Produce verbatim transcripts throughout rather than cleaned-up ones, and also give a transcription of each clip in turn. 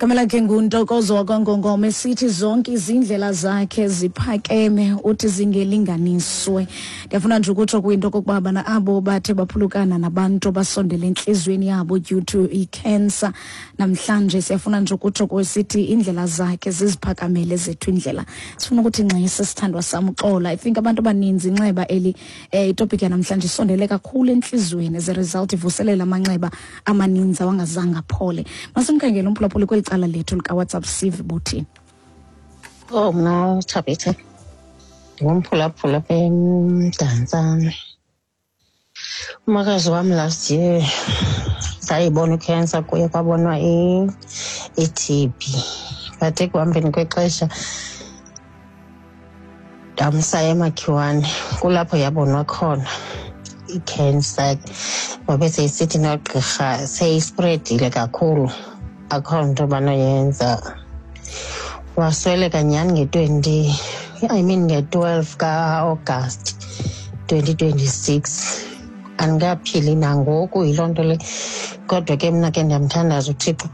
Igama lakhe nguNtokozo wakwaNgongoma, esithi zonke izindlela zakhe ziphakeme, uthi zingelinganiswe. Ndiyafuna nje ukutsho kwinto okokuba bana abo bathe baphulukana nabantu abasondele entliziyweni yabo due to i-cancer, namhlanje siyafuna nje ukutsho kwesithi indlela zakhe ziziphakamele zethu indlela. Sifuna ukuthi ngxisi sithandwa sam, uxola. I think abantu abaninzi inxeba eli, eh, itopic yanamhlanje isondele kakhulu entliziyweni, as a result ivuselela amanxeba amaninzi awangazange aphole. Masimkhangele umphulaphuli kweli cala lethu likaWhatsApp, sive buthini. Oh, mna Thabithe, ndingumphulaphula apha eMdantsane. Umakazi wam last year sayibona i-cancer kuye, kwabonwa i-T B, but ekuhambeni kwexesha ndamsa eMakhiwane, kulapho yabonwa khona i-cancer. Wabe seyisithi nogqirha seyispreadile kakhulu, akho nto banoyenza. Wasweleka nyhani nge-twenty, I mean nge-twelve ka-August twenty twenty-six. Andikaphili nangoku yiloo nto le, kodwa ke mna ke ndiyamthandaza uThixo.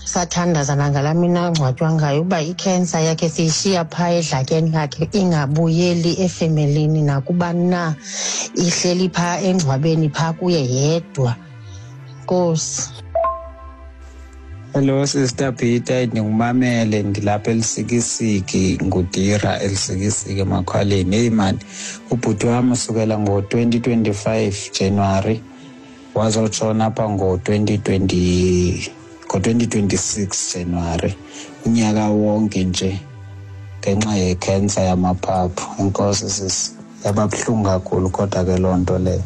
Sathandaza nangalaa mini angcwatywa ngayo uba i-cancer yakhe siyishiya phaa edlakeni lakhe, ingabuyeli efemelini nakubani na, ihleli phaa engcwabeni phaa kuye yedwa. Nkosi. Hello Sister Peter, ndingumamele ndilapha eLusikisiki, nguDira eLusikisiki eMakhwaleni. Heyi mani, ubhuti wam usukela ngo-twenty twenty-five January wazotshona apha ngo-twenty twenty ngo-twenty twenty-six January, unyaka wonke nje ngenxa yekhensa yamaphaphu. Enkosi sisi, yaba buhlungu kakhulu kodwa ke loo nto leyo.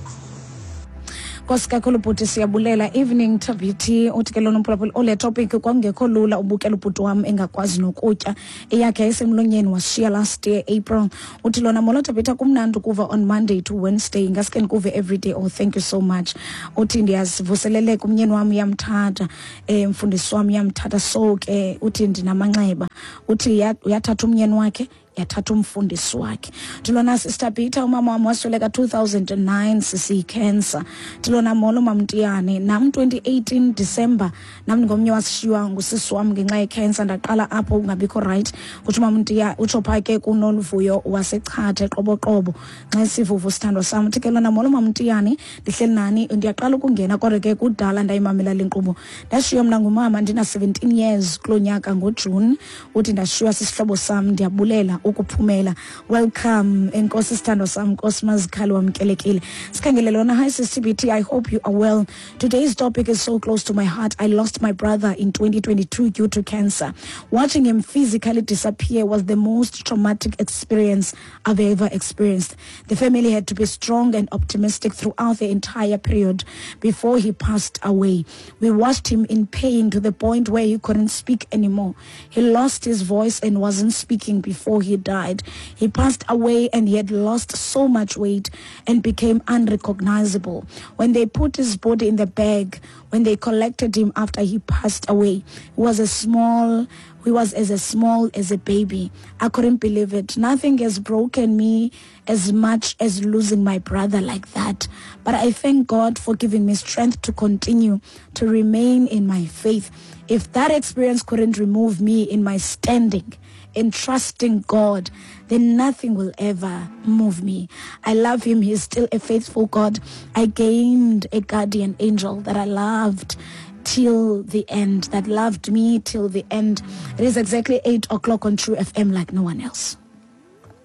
Nkosi kakhulu bhuti, siyabulela. Evening Thabiti, uthi ke lona umphulaphuli, ole topic kwakungekho lula ubukela ubhuti wam engakwazi nokutya, eyakhe yayisemlonyeni, washiya last year April. Uthi lona, molo Thabitha, kumnandi ukuva on Monday to Wednesday, ngaske ndikuve every day. Oh, thank you so much. Uthi ndiyazivuseleleka, umnyeni wam uyamthatha, um mfundisi wam uyamthatha, so ke uthi ndinamanxeba. Uthi uyathatha umnyeni wakhe, yathatha umfundisi wakhe. Ndilona, Sister Peter, umama wam wasweleka two thousand and nine sisiyi-cancer. Ndilona, molo Mamtiyane, nam twenty eighteen December nam ndingomnye wasishiywa ngusisi wam ngenxa ye-cancer, ndaqala apho ungabikho right. Kutsho uMamtiya, utsho phaa ke kuNoluvuyo waseChatha eQoboqobo. Nxa sivuvu sithandwa sam. Uthi ke lona, molo Mamtiyane, ndihleli nani, ndiyaqala ukungena kodwa ke kudala ndayimamela le nkqubo. Ndashiywa mna ngumama ndina seventeen years kuloo nyaka ngoJuni. Uthi ndashiywa sisihlobo sam, ndiyabulela ukuphumela. Welcome enkosi sithandwa sam, Nkosi Mazikhali, wamkelekile. Sikhangele lona, hi Sis T B T, I hope you are well. Today's topic is so close to my heart. I lost my brother in twenty twenty-two due to cancer. Watching him physically disappear was the most traumatic experience I've ever experienced. The family had to be strong and optimistic throughout the entire period before he passed away. We watched him in pain to the point where he couldn't speak anymore. He lost his voice and wasn't speaking before he died. He passed away and he had lost so much weight and became unrecognizable. When they put his body in the bag, when they collected him after he passed away, he was a small, he was as a small as a baby. I couldn't believe it. Nothing has broken me as much as losing my brother like that. But I thank God for giving me strength to continue to remain in my faith. If that experience couldn't remove me in my standing, in trusting God, then nothing will ever move me. I love him. He's still a faithful God. I gained a guardian angel that I loved till the end, that loved me till the end. It is exactly eight o'clock on True F M like no one else.